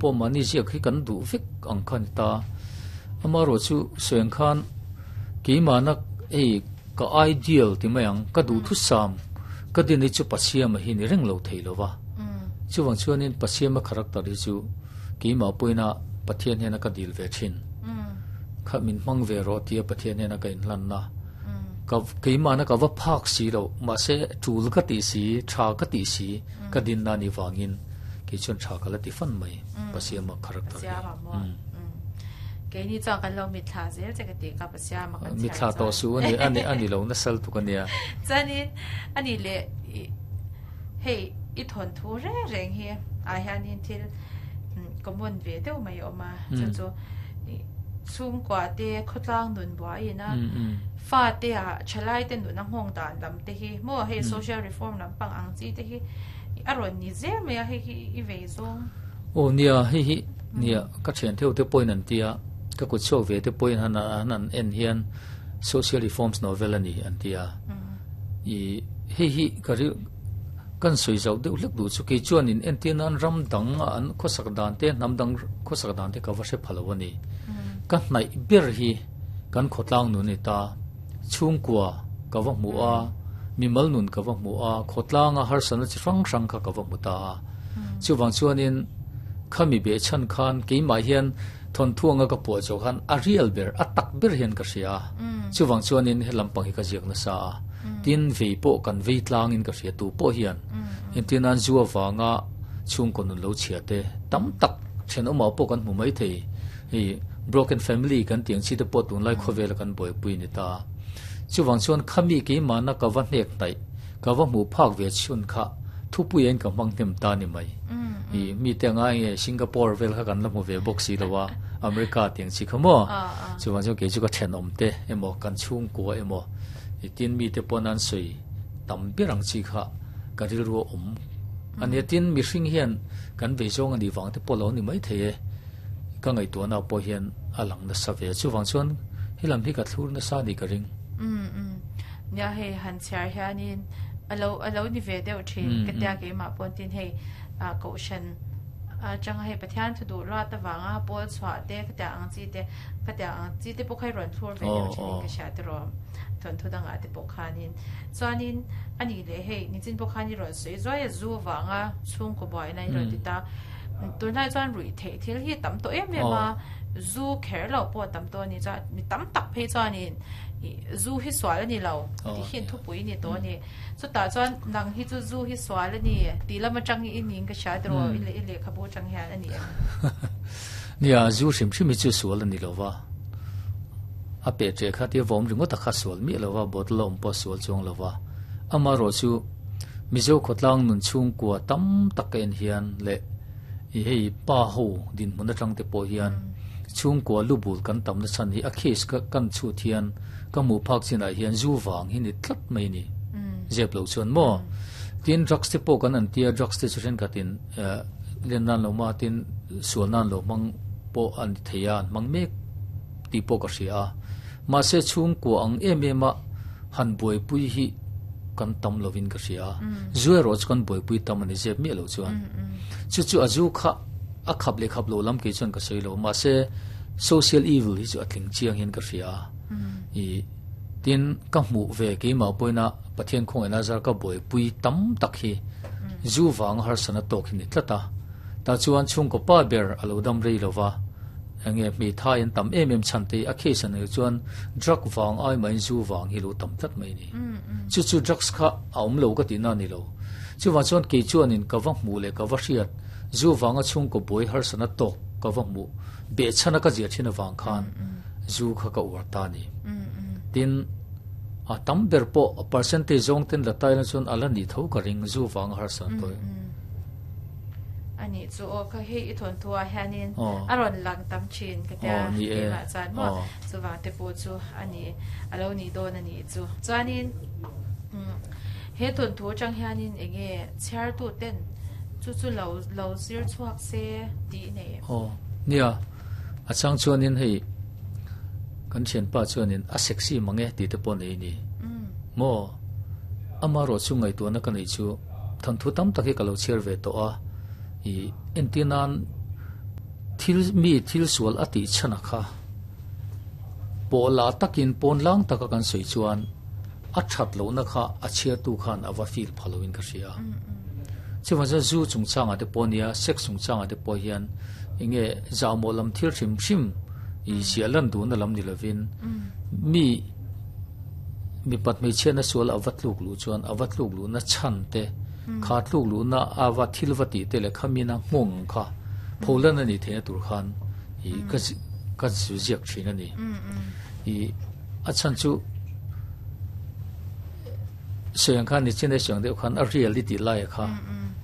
Pawh mahni ziak hi kan duh vek ang kha a ni ta. Amaherawhchu sawi ang khan keimahna hei ka ideal ti mai ang, ka duhthusam ka din hi chu Pasiama hi ni reng lo thei lo va. Chuvang chuanin Pasiama character hi chu keimah pawhin a Pathian hian a ka dil ve thin. Kha min hmang ve rawh tia Pathian hian a ka inhlanna. Ka keimahna ka va phak si loh, mahse tul ka tih si, tha ka tih si ka dinna a nih vangin kei chuan tha ka la ti fan mai Pasiama character hi. Pasiama maw? Keini chuan kan lo mitthla zel che ka tih kha Pasiama kan chhiar chuan. Mitthla tawh suh a ni, a ni a ni lo nasal tuk a nia. Chuanin a ni leh hei i thawnthu reng reng hi ah hianin thil common ve deuh mai a awm a, chu chu chhungkua te khawtlang nun buaiin a fate ah thalai te nun a nghawng dan lam te hi maw hei social reform lampang ang chi te hi a rawn ni zel mai a hei hi i vei zawng. Aw nia hei hi nia ka thian theuh te pawhin an tia ka kut chhuak ve te pawhin han an en hian social reforms novel a ni an tia i hei hi ka ri kan sawi zauh deuh hlek duh chu kei chuanin entir nan ram dang a an khawsak dan te hnam dang khawsak dan te ka va hre pha lo a ni ka hnaih ber hi kan khawtlang nun a ni ta chhungkua ka va hmu a mimal nun ka va hmu a khawtlanga harsatna chi hrang hrang kha ka va hmu ta a chuvang chuanin khami behchhan khan keimah hian thawnthu anga ka puah zawh khan a real ber a tak ber hian ka hria a chuvang chuanin he lampang hi ka ziak nasa a tin vei pawh kan vei tlangin ka hria tu pawh hian engtin nan zu avanga chhungkaw nun lo chhia te tam tak thenawmah pawh kan hmu mai thei hei broken family kan tih ang chi te pawh tunlai khawvela kan buaipui a ni ta chuvang chuan khami keimahna ka va hnek hnaih ka va hmuh phak ve chhun kha thupui ain ka hmang hnem ta ni mai i mite anga enge Singapore vel kha kan la hmu ve bawk si lo a America tih ang chi kha maw chuvang chuan kei chu ka thenawm te emaw kan chhungkua emaw i tin mite pawn an sawi tam ber ang chi kha ka rilru a awm a nia tin mihring hian kan vei zawng a nih vang te pawh lo ni mai thei e ka ngaihtuahna pawh hian a lang nasa ve chuvang chuan helam hi ka thlur nasa a nih ka ring. Nia hei han chhiar hianin alo alo ni ve deuh thin ka tia keimah pawh tin hei ah kohhran atanga hei Pathian thu duh luat avanga pawl chhuah te ka tia ang chi te ka tia ang chi te pawh kha i rawn thlur ve deuh thin in ka hria tiraw thawnthu dangah te pawh khanin chuanin a nih leh hei nichin pawh khan i rawn sawi zuai a zu avanga chhungkaw buaina i rawn ti ta tunlai chuan ruih theih thil hi a tam tawh em em a zu kher loh pawh a tam tawh a ni chuan mi tam tak phei chuanin Zu hi sual a ni lo tih hi thupui ni tawh a ni. Chutah chuan nang hi chu zu hi sual a ni tih lam atang i ning ka hria tiraw i lehkhabu atang hian a ni em? Nia, zu hrim hrim hi chu sual a ni lo va. A peh ṭeh kha tia vawm ringawt a kha sual miah lo va, bottle a awm pawh a sual chuang lo va. Amaherawh chu Mizo khawtlang nun chhungkua tam tak ka en hian leh i hei pa ho dinhmun atang te pawh hian chhungkua lu bul kan tamna chhan hi a case ka kan chhut hian ka hmuh phak chinah hian zu vang hi ni tlat mai a ni zep lo chuan maw tin drugs te pawh kan an tia drugs te chu thenkhatin len nan lo ma tin sual nan lo hmang pawh an ni thei a an hmang mek tih pawh ka hria a mahse chhungkua ang em em a han buaipui hi kan tam lovin ka hria a zu erawh chu kan buaipui tam a ni zep miah lo chuan chu chu a zu kha a khap leh khap lo lam kei chuan ka sawi lo mahse social evil hi chu a tling chiang hian ka hria a i tin ka hmuh ve keimah pawhin a Pathian khawngaihna zar ka buaipui tam tak hi zu vanga harsatna tawk hi ni tlat a tah chuan chhungkaw pa ber a lo dam rei lova Enge hmeithai an tam em em chhan te hi a case an neih chuan drug vang ai mahin zu vang hi lo tam tlat mai a ni. Chu chu drugs kha a awm lo ka tihna a ni lo. Chuvang chuan kei chuanin ka va hmuh leh ka va hriat zu vanga chhungkaw buai harsatna tawk ka va hmuh behchhana ka ziah thin avang khan zu kha ka uar ta a ni. Tin, a tam ber pawh a percentage zawng ten la taina chuan a la nih tho ka ring zu vanga harsatna tawih. Ani chu aw ka hei i thawnthu ah hianin a rawn lang tam thin ka tia keimah chuan maw chuvang te pawh chu ani a lo nih dawn a nih chu. Chuanin he thawnthu atang hianin eng nge chhiartu ten chu chu lo lo zir chhuak se tih nei em? Aw nia a chang chuanin hei kan thianpa chuanin a sexy mang e tih te pawh nei a ni maw amaherawhchu chu ngaihtuahna ka neih chu. Thanthu tam tak hi ka lo chhiar ve tawh a, i entir nan. Thil mi thil sual a tih chhan a kha pawh lah takin pawn lang taka kan sawi chuan a that lohna kha a chhiartu khan a va feel pha loin ka hria. Chuvang chuan zu chungchangah te pawh nia, sex chungchangah te pawh hian enge zahmawh lam thil hrim hrim i ziah lan duhna lam ni lovin mi mipat hmeichhiatna sual a va tluk luh chuan a va tluk luhna chhan te, kha tluk luhna a va thil va tih te leh kha mina nghawng ang kha pholan a nih theihna tur khan i ka ka ziak thin a ni. I a chhan chu sawi ang khan nichin a sawi ang deuh khan a reality tih lai a kha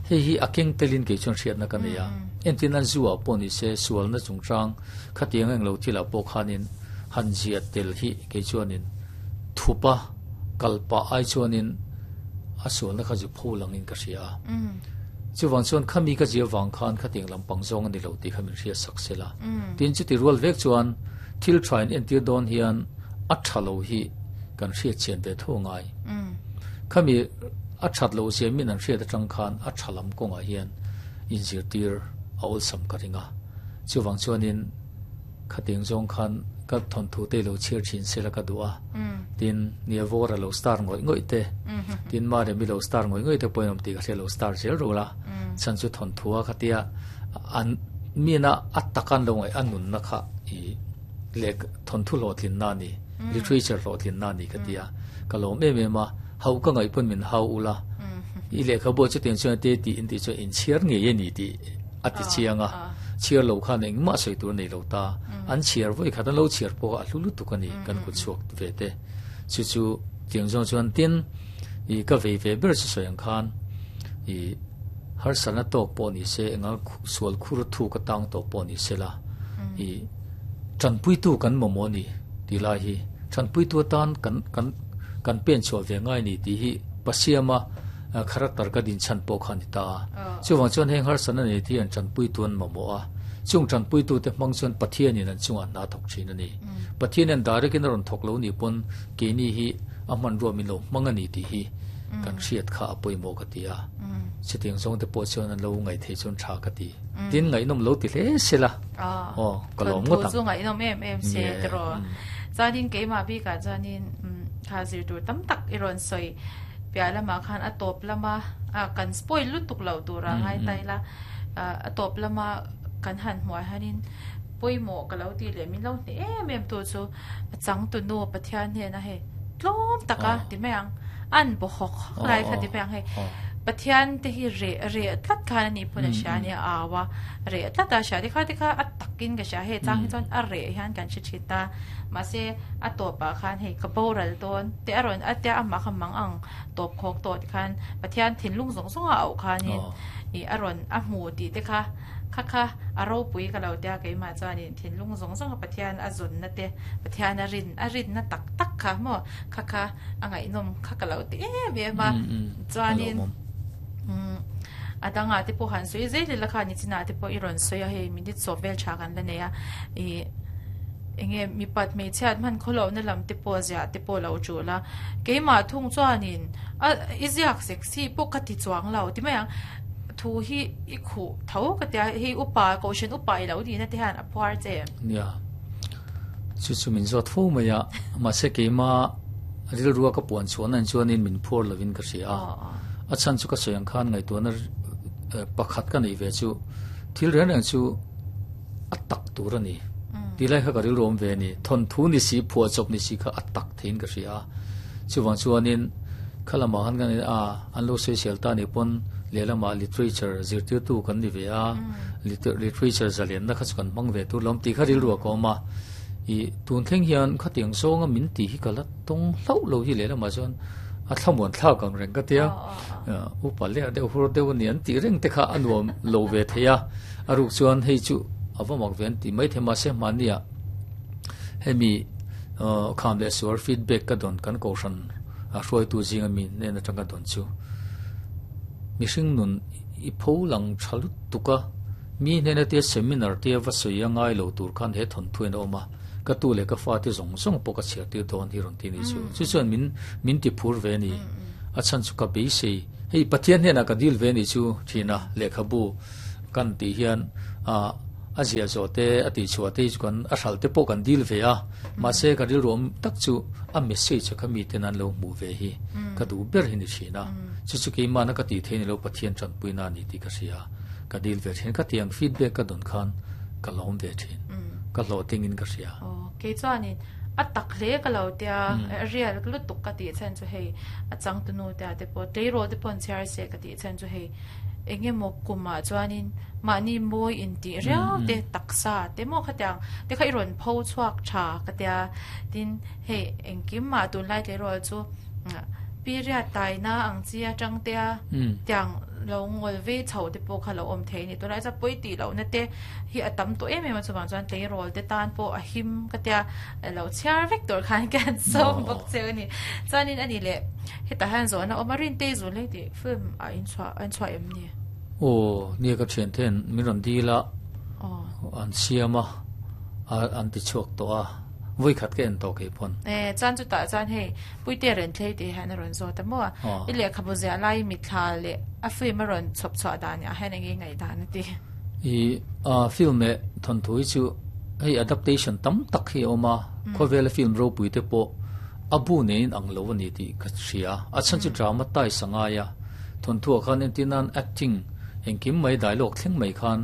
hei hi a keng telin kei chuan hriatna ka nei a. Entir nan zu ah pawh ni se sualna chungchang khatiang englo thil ah pawh khanin han ziah tel hi kei chuanin thupa kal pah ai chuanin a sualna kha zu pho langin ka hria a. Chuvang chuan khami ka zia vang khan khatiang lampang zawng a ni lo tih kha min hriat sak se la. Tin chuti rual vek chuan thil tha in entir dawn hian a tha lo hi kan hriat chian ve tho ngai. Khami a that loh zia min an hriat atang khan a tha lam kawngah hian inzirtir a awlsam ka ring a. Chuvang chuanin Khatiang zawng khan ka thawnthu te lo chhiar thin sela ka duh a, tin nia vawr a lo star ngawih ngawih te, tin Maremi lo star ngawih ngawih te pawh in awm tih ka hria lo star zel ro la, chhan chu thawnthu a khatia an mina a taka an lo ngaih a nunna kha i leh thawnthu hlawhtlinna a ni, literature hlawhtlinna a ni ka ti a, ka lawm em em a, hauh ka ngaih pawn min hau ula, i lehkhabu ah chutiang chuan te tih in tih chuan inchhiar ngei a ni tih. A ti chiang a, chhiar lo khan engmah sawi tur a nei lo ta. An chhiar vawi khat an lo chhiar pawh a hlu lutuk a ni kan kut chhuak ve te. Chu chu tiang zawng chuan tin i ka vei ve ber chu sawi ang khan i harsatna tawk pawh ni se enga sual khur thuk atang tawh pawh ni se la i tanpuitu kan mamawh a ni tih lai hi tanpuitu atan kan kan kan pen chhuah ve ngai a ni tih hi Pasiama Character ka din chhan pawh kha a ni ta a. Chuvang chuan heng harsatna nei te hi an tanpuitu an mamawh a. Chung tanpuitute hmang chuan Pathianin an chungah hna a thawk thin a ni. Pathianin direct in a rawn thawk lo nih pawn keini hi a hmanrua min lo hmang a ni tih hi kan hriat kha a pawimawh ka ti a. Chutiang zawng te pawh chuan an lo ngaihtheih chuan tha ka ti. Tin ngaihnawm lo ti hle se la. Aw ka lawm ngawt ang. Thawnthu chu ngaihnawm em em se tiraw. Chuanin keimah bikah chuanin kha zir tur tam tak i rawn sawi. Piah lamah khan a tawp lama ah kan spoil lutuk loh tura ngai ta ila ah a tawp lama kan han hmuh ah hianin pawimawh ka lo tih leh min lo hneh em em tu chu a changtunu Pathian hnena hei tlawm taka ti mai ang an baw hawk hawk lai kha ti mai ang hei Pathian te hi reh reh tlat khan a nih pawn a hria a nia a au a reh tlat a hria tikha tikha a takin ka hria hei chang hi chuan a reh hian kan hre thin ta mahse a tawpah khan hei ka boral dawn te a rawn a tia amah kha mang ang tawp khawk tawh ti khan Pathian thinlung zawng zawng a auh khanin ih a rawn a hmu tih te kha kha kha a ropui ka lo tia keimah chuanin thinlung zawng zawng a Pathian a zawnna te Pathian a rin a rinna tak tak kha maw kha kha a ngaihnawm kha ka lo ti em em a chuanin umm a dangah te pawh han sawi zel ila kha nichinah te pawh i rawn sawi a hei minute sawm vel tha kan la nei a ih Enge mipat hmeichhiat hman khawlohna lam te pawh ziah te pawh lo tul a, keimah thung chuanin a i ziak sexy pawh ka ti chuang lo ti mai ang, thu hi i khuh tho ka tia hei upa kohhran upa i lo nihna te hian a phuar che em? Nia, chu chu min zawt fo mai a, mahse keima rilrua ka puan chhuahna in chuanin min phuar lovin ka hria a, a chhan chu ka sawi ang khan ngaihtuahna pakhat ka neih ve chu thil reng reng chu a tak tur a ni. Ti lai kha ka rilru awm ve a ni. Thawnthu ni si, phuahchawp ni si kha a tak theiin ka hria a. Chuvang chuanin kha lamah khan kan a, an lo sawisel ta nih pawn lehlamah literature zirtirtu kan ni ve a, literature zalenna kha chu kan hmang ve tur lawm tih kha rilru a ka awm a. Ih tun thleng hian khatiang zawnga min tih hi ka la tawng hlauh lo hi lehlamah chuan a thlamuan thlak ang reng ka tia. Upa leh deuh hur deuh a ni an tih reng te kha a nuam lo ve thei a. A ruk chuan hei chu a va mak ve an ti mai thei mahse hmahniah hemi kham leh sual feedback ka dawn kan kohhran a hruaitu zinga mi hnen atang ka dawn chu mihring nun i pho lang tha lutuk a mi hnena tia seminar tia va sawi a ngai lo tur khan he thawnthu in a awm a ka tu leh ka fate zawng zawng pawh ka chhiar tir dawn hi rawn ti ni chu chu chuan min min ti phur ve a ni a chhan chu ka beisei hei Pathian hnenah ka dil ve a ni chu thina lehkhabu Kan tih hian A ziah zawh te, a tihchhuah te hi chu kan a hralh te pawh kan dil ve a, mahse ka rilru awm tak chu a message a kha miten an lo hmuh ve hi ka duh ber hi ni thin a, chu chu keimahna ka tih theih ni lo Pathian tanpuina a ni tih ka hria, ka dil ve thin. Ka tiang feedback ka dawn khan ka lawm ve thin, ka hlawhtlingin ka hria. Aw, kei chuanin a tak hle ka lo tia, real lutuk ka tih chhan chu hei a changtunu te ah te pawh tleirawl te pawh an chhiar se ka tih chhan chu hei eng emaw kumah chuanin mahni mawi intih riau te taksa te maw khatiang te kha i rawn pho chhuak tha ka tia tin hei engkim mah tunlai tleirawl chu period taina ang chi atang te a tiang lo ngawl vei chho te pawh kha lo awm thei a ni tunlai chuan pawi tih lohna te hi a tam tawh em em a chuvang chuan tleirawl te tan pawh a him ka tia lo chhiar vek tur khan ka han sawm bawk che a ni chuanin a ni leh hetah hian zawhna awm a Rintei zul hei tih film ah in chhuah an chhuah em ni? Aw nia ka thian ten min rawn dil a an siam a an ti chhuak tawh a vawi khat ka en tawh kei pawn. E chuan chutah chuan hei Puite ren thlei tih hian a rawn zawt a maw i lehkhabu ziah lai mitthla leh a film a rawn chhawp chhuah dan ah hian eng nge ngaihdan a ti? I a film leh thawnthu hi chu hei adaptation tam tak hi a awm a khawvela film ropui te pawh A bu neiin ang lo a ni tih ka hria. A chhan chu drama ties a ngai a. Thawnthuah khan entir nan acting engkim mai dialogue thleng mai khan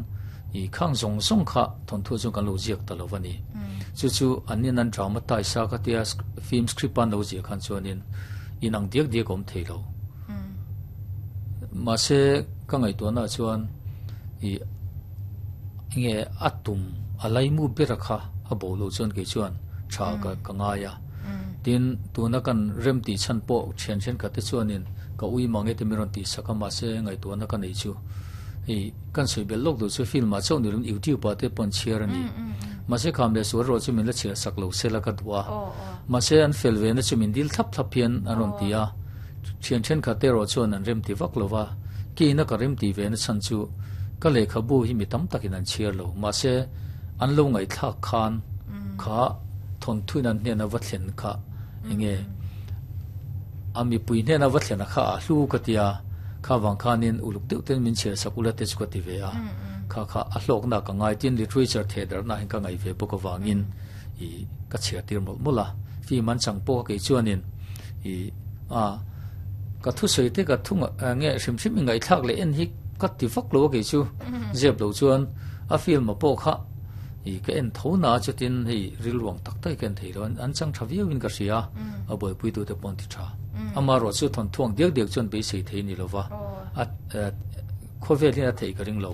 i khang zawng zawng kha thawnthuah chuan kan lo ziak ta lo a ni. Chu chu an nin an drama ties a ka tia film script a an lo ziah khan chuanin in ang diak diak a awm thei lo. Mahse ka ngaihtuahnaah chuan i enge a tum a laimu bera kha a bo loh chuan kei chuan tha ka ngai a. Tin, tuna kan rem tih chhan pawh thian thenkhat te chuanin ka ui mang e ti min rawn tih sak a, mahse ngaihtuahna ka neih chu hei kan sawi belh lawk duh chu film ah chauh ni lovin YouTube ah te pawh an chhiar a ni. Mahse kham leh sual erawh chu min la chhiar sak lo sela ka duh a. Mahse an fel ve na chu min dil thlap thlap hian an rawn ti a, thian thenkhat te erawh chuan an rem ti vak lo va, keina ka rem tih ve na chhan chu ka lehkhabu hi mi tam takin an chhiar lo, mahse an lo ngaihthlak khan kha thawnthuin an hnena va thlen kha enge a mipui hnena va thlen a kha a hlu ka tia kha vang khanin uluk deuh ten min chhiar sak ula te chu ka ti ve a kha kha a hlawkna ka ngai tin literature theh darhna hian ka ngaih ve bawk avangin i ka chhiar tir mawlh mawlh a film an chang pawh kei chuanin i a ka thusawi te ka thu nge hrim hrim i ngaihthlak leh en hi ka ti vak lo a kei chu zep lo chuan a film a pawh kha I ka en tho na chutin hei rilruang tak tak ka en thei lo an chang tha viau in ka hria a buaipui tu te pawh an ti tha amaherawh chu thawnthuang diak diak chuan beisei thei ni lova a khawvel hian a theih ka ring lo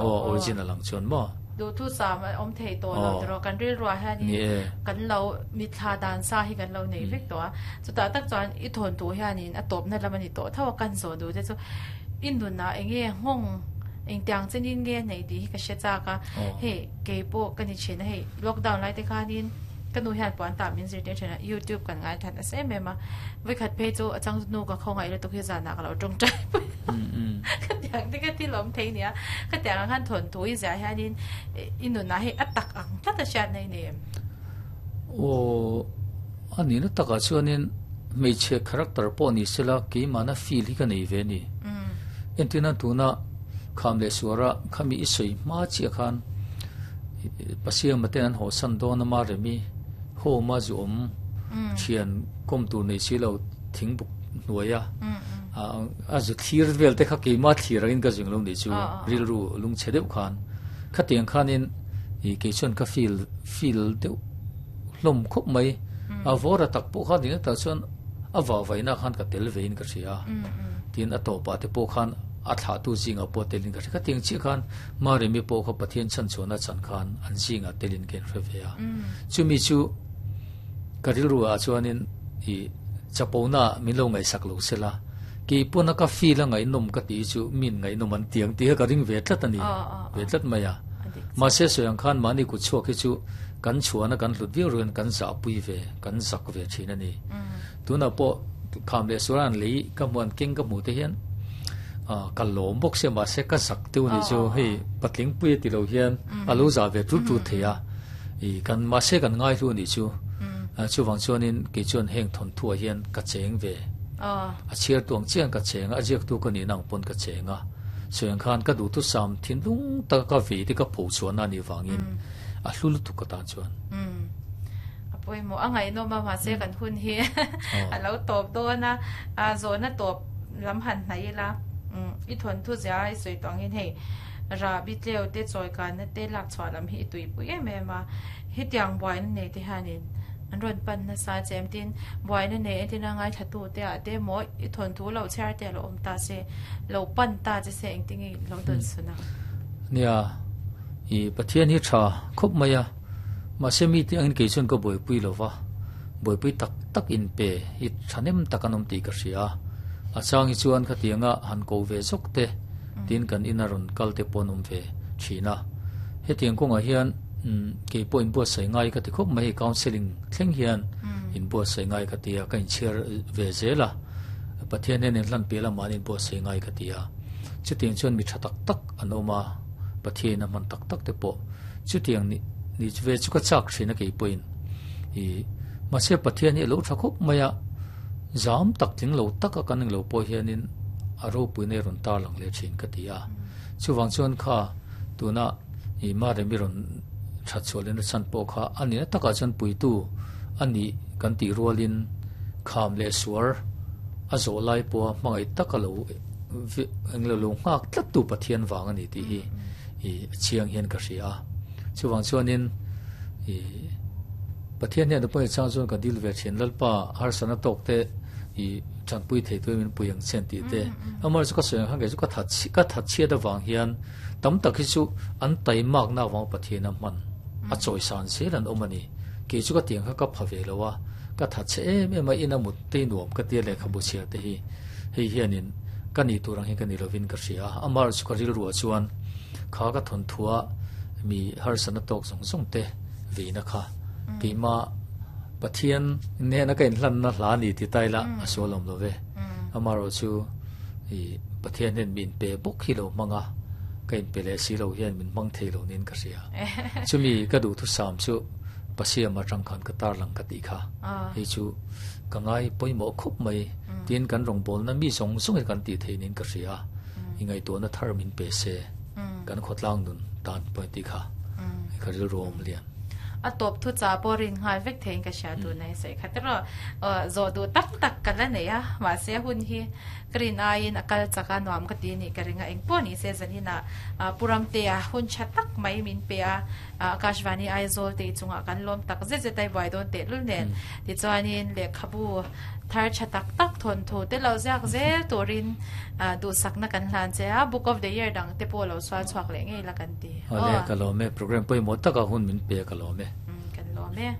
aw original ang chuan maw duhthu sam a awm thei tawh lo tiraw kan rilruah hianin kan lo mitthla dan sa hi kan lo nei vek tawh a chutah tak chuan i thawnthu hianin a tawpna lam a ni tawh tho a kan zawh duh te chu i nunah eng nge nghawng Engtiang chenin nge nei tih hi ka hre chak a, hei kei pawh ka ni thin a, hei lockdown lai te khanin ka nu hian puan tah min zirtir thin a, youtube kan ngai that nasa em em a, vawikhat phei chu a chang nu ka khawngaih lutuk hi zanah ka lo tawngtai pui a, khatiang te kha thil awm thei nia, khatiang ang khan thawnthu i ziah hianin i nunah hei a tak ang tlat a hriat na i nei em? Aw, a nihna takah chuanin hmeichhe character pawh ni sela keimahna feel hi ka nei ve a ni. Entirna tuna kham leh suara khami i sawi hma chiah khan Pasiama ten an hawhsan dawn a Maremi home a zu awm thian kawm tur nei si lo thingbuk hnuaia a zu thlir vel te kha keima thlir angin ka zing lo nih chu rilru lungchhe deuh khan khatiang khanin i kei chuan ka feel feel deuh hlawm khawp mai a vawra tak pawh khan ding tak chuan a vahvaina khan ka tel vein ka hria tin a tawpah te pawh khan a thlahtu zingah pawh telin ka hria khatiang chiah khan Maremi pawh kha Pathian chhanchhuahna chan khan an zingah telin ka inhre ve a chumi chu ka rilru ah chuanin i chapona min lo ngaihsak lo sela kei pawna ka feel a ngaihnawm ka tih chu min ngaihnawm an tiang tih kha ka ring ve tlat a ni ve tlat mai a mahse sawi ang khan mahni kut chhuak hi chu kan chhuahna kan hlut viau ruin kan zahpui ve kan zak ve thin a ni. Tunah pawh kham leh sual an lei ka hmuh an keng ka hmuh te hian ka lawm bawk sia mahse ka zak deuh a nih chu hei patling pui a ti lo hian a lo zah ve tut tut thei a i kan mahse kan ngai hlu a nih chu chuvang chuanin kei chuan heng thawnthuah hian ka cheng ve a chhiar tuang chiang ka cheng a a ziaktu ka nihna ang pawn ka cheng a. Sawi ang khan ka duhthusam thinlung taka ka vei te ka pho chhuahna a nih vangin a hlu lutuk ka tan chuan. Umm. A pawimawh a ngaihnawm a mahse kan hun hi a lo tawp dawn a, zawhna tawp lam han hnaih ila i thawnthu zia i sawi tawh angin hei Rahbi tleu te chawikanna te lak chhuah lam hi i tuipui em em a, hetiang buaina nei te hianin an rawn pan nasa che em tin buaina nei entirna ngaithla tu te ah te maw i thawnthu lo chhiar te a lo awm ta se lo pan ta che se engtin nge lo dawn sun a. Nia, i Pathian hi tha khawp mai a, mahse mi te angin kei chuan ka buaipui lo va, buaipui tak tak in pe hi thahnem tak an awm tih ka hria a, a chang hi chuan khatianga han ko ve zawk te tin kan ina rawn kal te pawh an awm ve thin a, hetiang kawngah hian kei pawh inbuatsaih ngai ka ti khawp mai hei counselling thleng hian inbuatsaih ngai ka ti a, ka inchhiar ve zel a, Pathian hian inhlan piah lamah an inbuatsaih ngai ka ti a, chutiang chuan mi tha tak tak an awm a, Pathianin a hman tak tak te pawh chutiang ni ni ve chu ka chak thin a kei pawhin ih mahse Pathian hi a lo tha khawp mai a, zam tak tling lo taka kan englo pawh hianin a ropui na hi rawn tar lang leh thin ka ti a, chuvang chuan kha tuna ih Maremi rawn that chhuah lehna chhan pawh kha a nihna takah chuan puitu a nih kan tih rualin kham leh suar a zawh lai pawha hmangaih taka lo englo lo nghak tlat tu Pathian vang a ni tih hi ih a chiang hian ka hria a chuvang chuanin ih Pathian hian pawh chang chuan ka dil ve thin Lalpa harsatna tawk te ih tanpui thei turin min pui ang chen tih te amah chu ka sawi ang khan kei chu ka that ka that chhiat avang hian tam tak hi chu an taimakna avang Pathian a hman a chawisan zel an awm a ni kei chu ka tiang kha ka pha ve lo a ka that chhe em em a ina mut te nuam ka tia lehkhabu chhiar te hi hei hianin ka nih tur ang hi ka ni lovin ka hria a, amah chu ka rilruah chuan kha ka thawnthua mi harsatna tawk zawng zawng te veina kha keimah Pathian nena ka inhlanna hla a ni ti ta ila a sual awm lo ve. Amaherawh chu ih Pathian hian min pe bawk hi lo hmang a, ka inpe leh si lo hian min hmang thei lo niin ka hria. Chumi ka duhthusam chu Pasiam atang khan ka tarlang ka tih kha hei chu ka ngai pawimawh khawp mai tin kan rawngbawlna mi zawng zawng hi kan tih theih niin ka hria a, i ngaihtuahna thar min pe se kan khawtlang nun tan pawh tih kha ka rilru a awm lian. A tawp thu cha pawh rin nghal vek theiin ka hria tun a i sawi kha tiraw zawh duh tak tak ka la nei a mahse hun hi Ka rin aiin a kal chak a nuam ka ti a nih ka ring a, engpawh ni se zaninah Pu Ramtea hun tha tak mai min pe a, Akashvani Aizawl te i chungah kan lawm tak zet zet a i buai dawn tehlul nen tichuanin lehkhabu thar tha tak tak thawnthu te lo ziak zel turin duhsakna kan hlan che a, Book of the Year dang te pawh lo sual chhuak leh ngei la kan ti. Awle ka lawm e, program pawimawh taka hun min pe ka lawm e. Kan lawm e.